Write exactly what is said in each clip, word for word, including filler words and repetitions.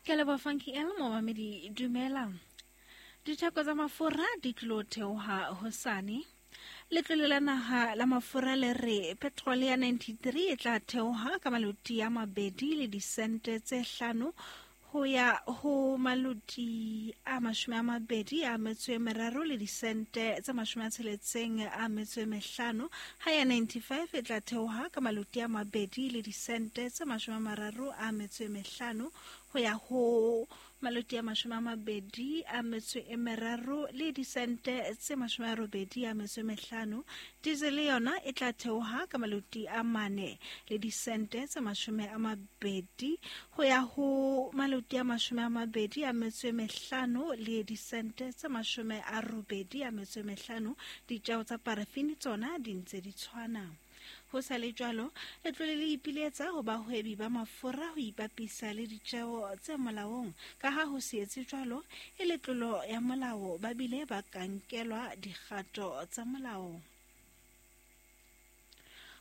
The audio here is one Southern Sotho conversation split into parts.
Ke leboha Funky L, momamedi dumela. Ditheko tsa mafura di tlo theoha hosane. Letlole la naha la mafura le re petrol ya ninety-three e tla theoha ka maloti a mabedi le disente tse hlano ho ya ho maloti a mashome a mabedi a metso e meraro le disente tse mashome a tsheletseng a metso e mehlano. Ha ya ninety-five e tla theoha ka maloti a mabedi le disente tse mashome a mararo a metso e mehlano ho ya ho maloti a mashome a mabedi a metso e meraro le disente tse mashome a robedi a metso e mehlano. Diesel yona e tla theoha ka maloti a mane le disente tse mashome a mabedi ho ya ho maloti a mashome a mabedi a metso e mehlano le disente tse mashome a robedi a metso e mehlano. Ditjeo tsa parafini tsona di ntse di tshwana. Ho sa le jwalo, letlole le ipiletsa ho bahwebi ba mafura ho ipapisa le ditjeo tse molaong, ka ha ho se etse jwalo e le tlolo ya molao, ba bile ba ka nkelwa dikgato tsa molao.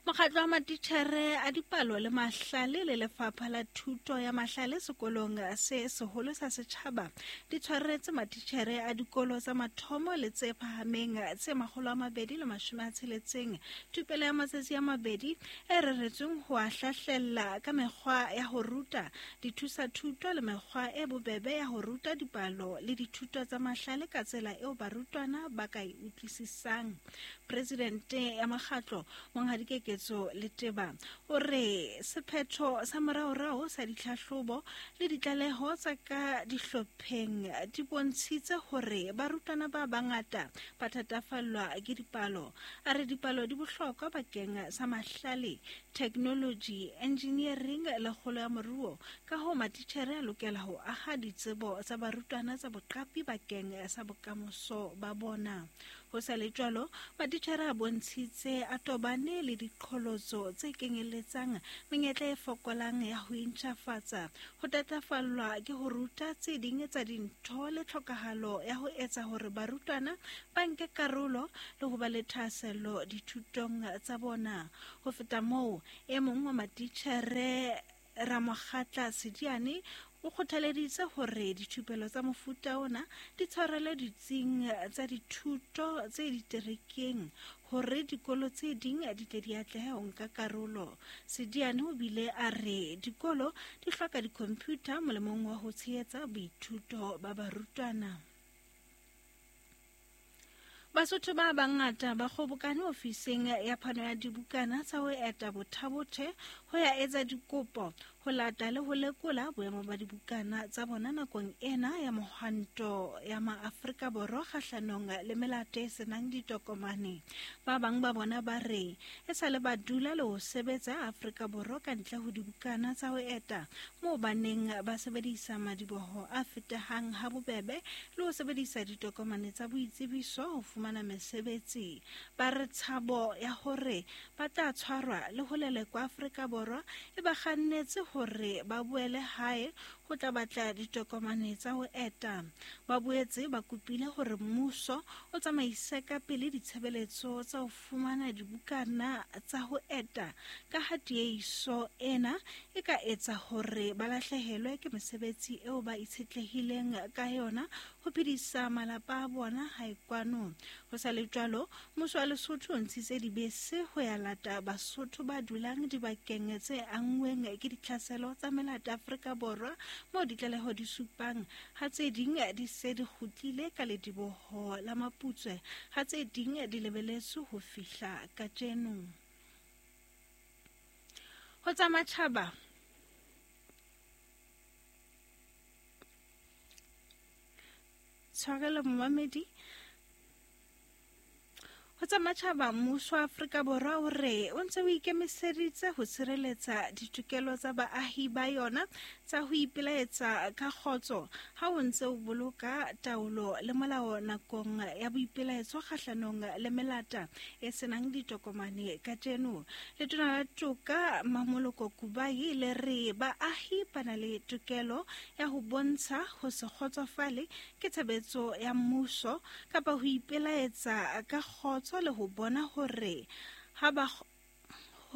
Mokgatlo wa matitjhere a dipalo le mahlale le lefapha la thuto ya mahlale sekolong se seholo sa setjhaba di tshwaretse matitjhere a dikolo tsa mathomo le tse phahameng tse makgolo a mabedi le mashome a tsheletseng thupelo ya matsatsi a mabedi e reretsweng ho a hlahlella ka mekgwa ya ho ruta, dithusa-thuto le mekgwa e bobebe ya ho ruta dipalo le dithuto tsa mahlale ka tsela eo barutwana ba ka e utlwisisang. Presidente ya mokgatlo Monghadi Keketso Leteba o re sephetho sa moraorao sa ditlhahlobo le ditlaleho tsa ka dihlopheng di bontshitse hore barutwana ba bangata ba thatafallwa ke dipalo. A re dipalo di bohlokwa bakeng sa mahlale, technology, engineering le kgolo ya moruo, ka hoo matitjhere a lokela ho aha ditsebo tsa barutwana tsa boqapi bakeng sa bokamoso ba bona. Ho sa le jwalo, matitjhere a bontshitse a tobane le diqholotso tse kenyelletsang menyetla e fokolang ya ho intjhafatsa, ho thatafallwa ke ho ruta tse ding tsa dintho le tlhokahalo ya ho etsa hore barutwana ba nke karolo le ho ba le thahasello dithutong tsa bona. Ho feta moo, e mong wa matitjhere Ramokgatla Sediane o kgothaleditse hore dithupelo tsa mofuta ona di tshwarelwe ditsing tsa dithuto tse diterekeng hore dikolo tse ding di tle di atlehe ho nka karolo. Sediane o bile a re dikolo di hloka di-computer molemong wa ho tshehetsa boithuto ba barutwana. Basotho ba bangata ba kgobokane ofising ya phano ya dibukana tsa ho eta Botha-Bothe ho ya etsa dikopo, ho lata le ho lekola boemo ba dibukana tsa bona nakong ena ya mohwanto ya maAfrika Borwa kgahlanong le melato e senang ditokomane. Ba bang ba bona ba re e sale ba dula le ho sebetsa Afrika Borwa ka ntle ho dibukana tsa ho eta, moo ba neng ba sebedisa madiboho a fetehang ha bobebe le ho sebedisa ditokomane tsa boitsebiso ho fumana mesebetsi. Ba re tshabo ya hore ba tla tshwarwa le ho lelekwa Afrika Borwa e ba kgannetse hore ba boele hae ho tla batla ditokomane tsa ho eta. Ba boetse ba kopile hore mmuso o tsamaise ka pele ditshebeletso tsa ho fumana dibukana tsa ho eta, ka ha tiehiso ena e ka etsa hore ba lahlehelwe ke mesebetsi eo ba itshetlehileng ka yona ho phedisa malapa a bona hae kwano. Ho sa le jwalo, mmuso wa Lesotho o ntshitse dibese ho ya lata Basotho ba dulang dibakeng tse anngweng ke ditlhaselo tsa melata Afrika Borwa, moo ditlaleho di supang ha tse ding di se di kgutlile ka lediboho la Maputswe, ha tse ding di lebeletswe ho fihla kajeno. Ho tsa matjhaba, tshwarelo momamedi. Ho tsa matjhaba, mmuso wa Afrika Borwa o re o ntse o ikemiseditse ho tshireletsa ditokelo tsa baahi ba yona tsa ho ipelaetsa ka kgotso ha o ntse o boloka taolo le molao nakong ya boipelaetso kgahlanong le melata e senang ditokomane kajeno. Letona la Toka Mamoloko Kubayi le re baahi ba na le tokelo ya ho bontsha ho se kgotsofale ke tshebetso ya mmuso kapa ho ipelaetsa ka kgotso le ho bona hore ha ba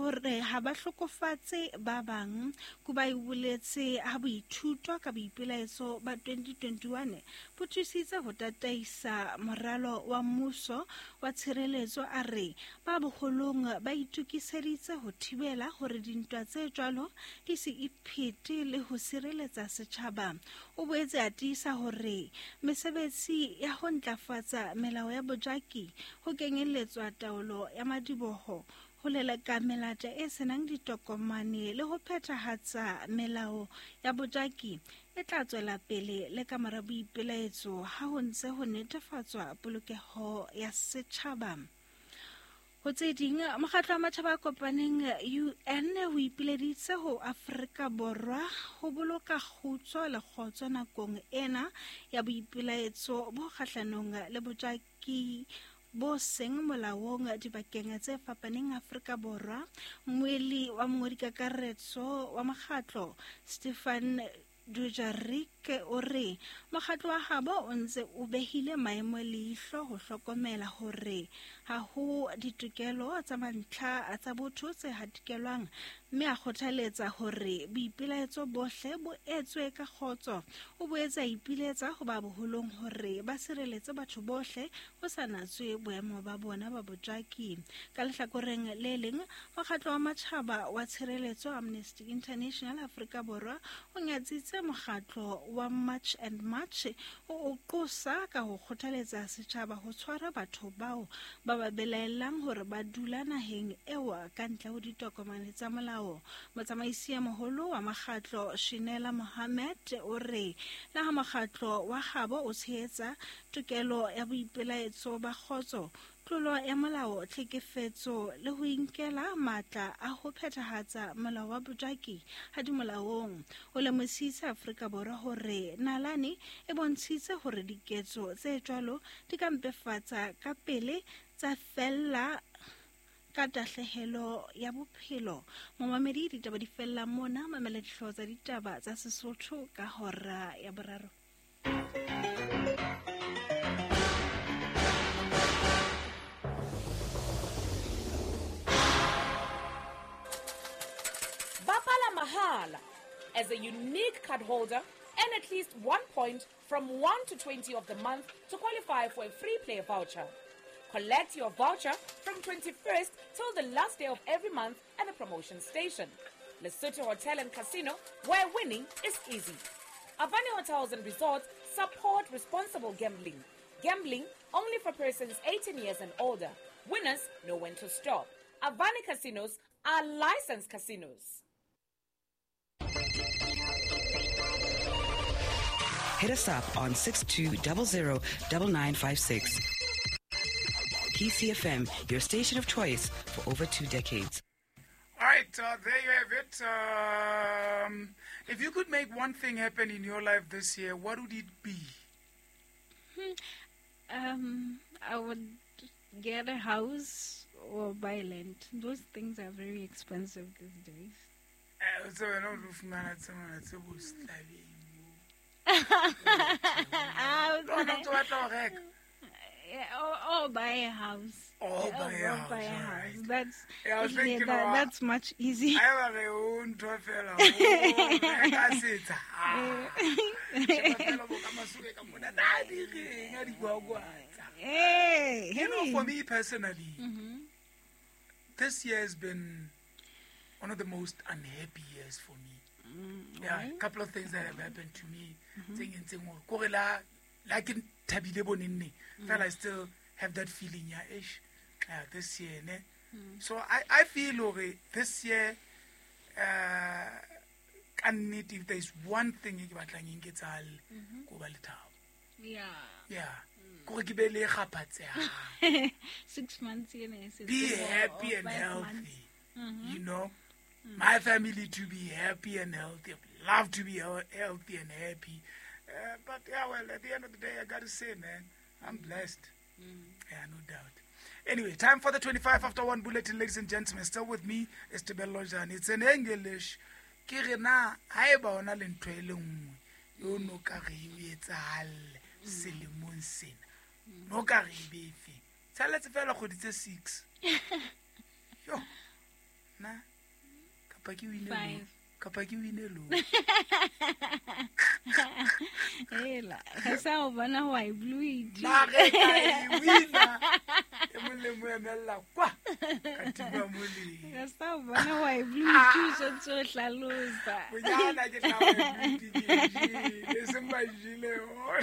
hore ha ba hlokofatse ba bang. Kubayi o boletse ha boithuto ka boipelaetso ba twenty twenty-one bo thusitse ho tataisa moralo wa mmuso wa tshireletso, a re ba boholong ba itokiseditse ho thibela hore dintwa tse jwalo di se iphete le ho sireletsa setjhaba. O boetse a tiisa hore mesebetsi ya ho ntlafatsa melao ya bojaki ho kenyelletswa taolo ya madiboho, ho leleka melata e senang ditokomane le ho phethahatsa melao ya bojaki e tla tswela pele le ka mora boipelaetso ha ho ntse ho netefatswa polokeho ya setjhaba. Ho tse ding, mokgatlo wa matjhaba a kopaneng U N o ipileditse ho Afrika Borwa ho boloka kgutso le kgotso nakong ena ya boipelaetso bo kgahlanong le bojaki bo seng molaong dibakeng tse fapaneng Afrika Borwa. Mmuelli wa mongodikakaretso wa mokgatlo Stefan Dujarric o re mokgatlo wa habo o ntse o behile maemo leihlo ho hlokomela hore ha ho ditokelo tsa mantlha tsa botho tse hatikelwang, mme a kgothaletsa hore boipelaetso bohle bo etswe ka kgotso. O boetse a ipiletsa ho ba boholong hore ba sireletse batho bohle ho sa natswe boemo ba bona ba bojaki. Ka lehlakoreng le leng, mokgatlo wa matjhaba wa tshireletso Amnesty International Afrika Borwa o nyatsitse mokgatlo wa March and March o o qosa ka ho kgothaletsa setjhaba ho tshwara batho bao ba ba belaellang hore ba dula naheng eo ka ntle ho ditokomane tsa molao. Motsamaisi ya moholo wa mokgatlo Shinela Mohammed o re le ha mokgatlo wa habo o tshehetsa tokelo ya boipelaetso ba kgotso, tlolo ya molao, tlhekefetso le ho inkela matla a ho phethahatsa molao wa bojaki ha di molaong. O lemositse Afrika Borwa hore nalane e bontshitse hore diketso tse jwalo di ka mpefatsa ka pele tsa fella ka tahlehelo ya bophelo. Momamedi, ditaba di fella mona. Mamela dihlooho tsa ditaba tsa Sesotho ka hora ya boraro. Bapala mahala. As a unique card holder, earn at least one point from one to twenty of the month to qualify for a free play voucher. Collect your voucher from twenty-first till the last day of every month at the promotion station. Lesotho Hotel and Casino, where winning is easy. Avani Hotels and Resorts support responsible gambling. Gambling only for persons eighteen years and older. Winners know when to stop. Avani Casinos are licensed casinos. Hit us up on six two zero zero nine nine five six. P C F M, your station of choice for over two decades. All right, uh, there you have it. Um, if you could make one thing happen in your life this year, what would it be? Um, I would get a house or buy land. Those things are very expensive these days. Yeah, or, or buy a house. Or buy a house. Buy a house. Right. That's yeah, I was thinking that, about, that's much easier. I have a own Hey, you know, for me personally, mm-hmm. this year has been one of the most unhappy years for me. Mm, yeah, a couple of things that have happened to me. Mm-hmm. Like in thabile bonenne, mm. I still have that feeling, yeah, ish, yeah, this year, ne? Mm. So I, I feel okay, this year, uh, if there's one thing e ke batlang e nketsahale, ko ba le thabo. Yeah. Yeah. Mm. Ko ke be le kgaphatseha. Six months in a Be happy and healthy. Mm-hmm. You know? Mm. My family to be happy and healthy. Love to be healthy and happy. Uh, but yeah, well, at the end of the day, I gotta say, man, I'm blessed. Mm. Yeah, no doubt. Anyway, time for the twenty-five after one bulletin, ladies and gentlemen. Still with me is Tebello Jane. It's in English. Ke re na haeba ona le ntho e le nngwe yo no ka re e etsahalle selemong sena, no ka re e be efe? Tshalletse fela kgwedi tse six. Yo. Na kapa ke wine Five. Kapa ke wine lo. Ela, ga sa o bona wa e blue it. Na ge ka e wina e mong le mo emella kwa ka tima moleng. Ga sa o bona wa e blue it o santse o hlalosa. Bonyana ke tla ba e blue it ke e jele, e seng ba e jele yona.